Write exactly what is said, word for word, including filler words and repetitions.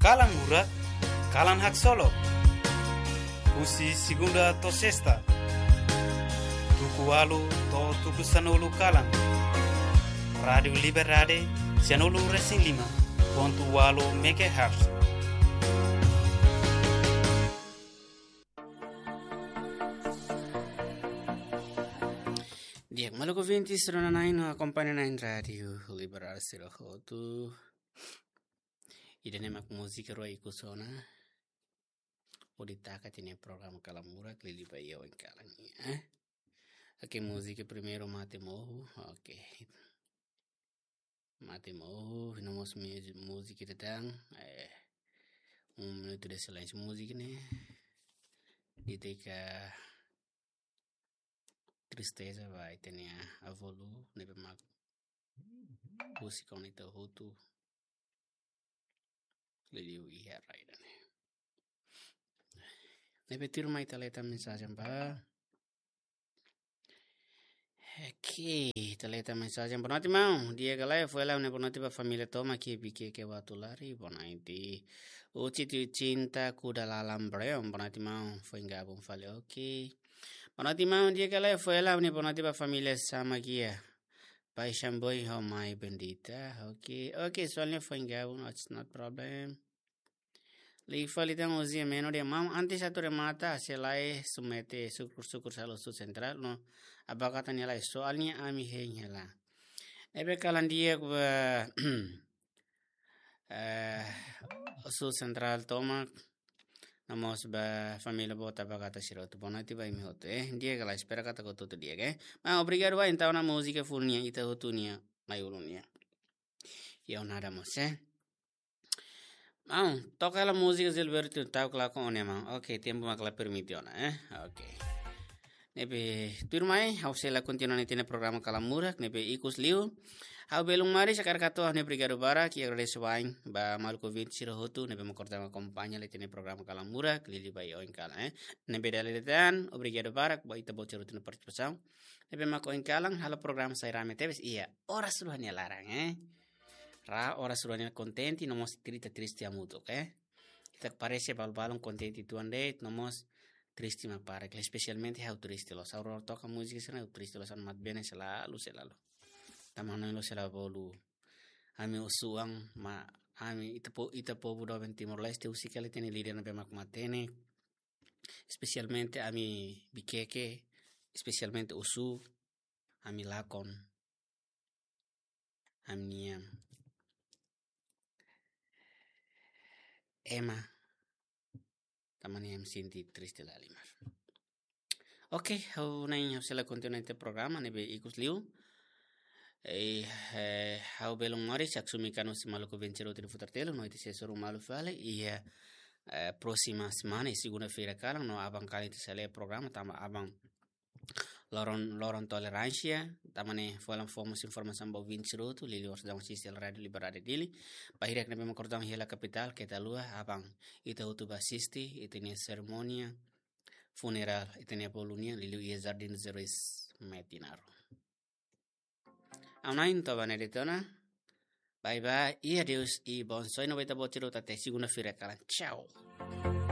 Kalan Murak, kalan haksolok. Husi segunda to'o sesta, tuku ualu to'o tuku sanulu kalan. Rádiu Liberdade, sanulu resin lima pontu ualu megahertz. Di'ak, maluk ouvinte sira-ne'ebé akompaña ona Rádiu Liberdade sira hotu. Ida-ne'e mak múzika rua ikus ona. Hodi taka tiha ona programa Kalan Murak, liuliu ba iha oin kalan nian, eh? Oke, múzika primeiru Mate Mohu. Oke. Mate Mohu, no mós mu-, múzika ida tan, eh, um minuto de silêncio múzika ne'e. Ita tristeza ba ita-nia avó Lu, ne'ebé mak husi kona ita hotu. Liuliu iha rai ida-ne'e. Ne'ebé tuirmai ita lee tan mensajen ba. Oke, ita lee tan mensajen. Boa noite, maun. Di'ak ka lae, foin ha'u-nia boa noite ba família tomak iha Viqueque Uatulari. Boa noite. Uci tiu cinta kuda lalam breom. Boa noite, maun. Foin gabung fali. Oke. Boa noite, maun. Di'ak ka lae, foin ha'u-nia boa noite ba família Samagia. Pai Xamboi ho Mai Bendita. Oke. Oke, soalnya foin gabung, it's not problem. Liga fali tan Ozia Meno dehan, maun, antes atu remata, sei lae submete sukur-sukur sala Sul Sentrál, no abakata nia lae, soalnya ami hein hela. Ne'ebé kalan di'ak ba, eh, Sul Sentrál tomak, no mós ba família boot abakata sira hotu, boa noite ba imi hotu, eh. Di'ak ka lae, espera katak hotu-hotu di'ak, eh. Maun, obrigadu ba, entaun ona múzika full nian, ita hotu nia, mai ulu nia. Iha ona mós, eh. Maun, toka hela múzika Gilberto Tau Claco One, maun. Oke, tempu mak la permite ona, eh? Oke. Ne'ebé tuirmai, ha'u sei la kontinua tiha ona programa Kalan Murak, ne'ebé ikus liu. Ha'u belun maris hakarak hato'o ha'u-nia obrigadu barak, i agradese wa'in ba maluk ouvinte sira hotu, ne'ebé mak kontinua akompaña tiha ona programa Kalan Murak, liuliu ba iha oin kalan, eh? Ne'ebé dala ida tan, obrigadu barak ba ita-boot sira hotu nia partisipasaun. Ne'ebé mak oin kalan, halo programa sai rame tebes, iha oras rua nia laran, eh? Raa oras rua nia kontente, no mós ita triste hamutuk, eh. Ita parese balun-balun kontente tuan de'it, no mós triste mak para, ke espesialmente ha'u triste loos. Ha'u rona toka múzika sira-ne'e ha'u triste loos, ha'u-nia mate bene selalu, selalu. Tanba hanoin loos selalu bolu. Ami osan, maun, ami ita po-, ita povu doben Timor-Leste, husik hela ita-nia líder ne'ebé mak matenek. Espesialmente ami Viqueque, espesialmente Osu, ami lakon. Ami-nian ema, tanba ne'e ami sente triste lahalimar. Oke, ha'u na'in ha'u sei la kontinua tiha ona programa ne'ebé ikus liu. Eh, eh, ha'u belun maris, ha'u sei mai kanu si maluk ouvinte sira hotu iha futar telu, no ita sei hasoru malu fali, iha, eh, próxima semana, iha segunda-feira kalan, no aban kalan ita sei lee programa, tanba aban loron, loron toleránsia, tanba ne'e foin ha'u fó mós informasaun ba ouvinte sira hotu, liuliu orsida asiste Rádiu Liberdade Dili. Ba hirak ne'ebé mak kordang hela kapitál, keta haluha, aban ita hotu ba asiste, ita-nia serimónia funerál, ita-nia avó Lu nian, liuliu iha Jardim dos Heróis Metinaro. Ha'u na'in toba ne'e de'it ona. Bye bye, i adeus, i bom sonho ba ita-boot sira hotu até segunda-feira kalan. Tchau.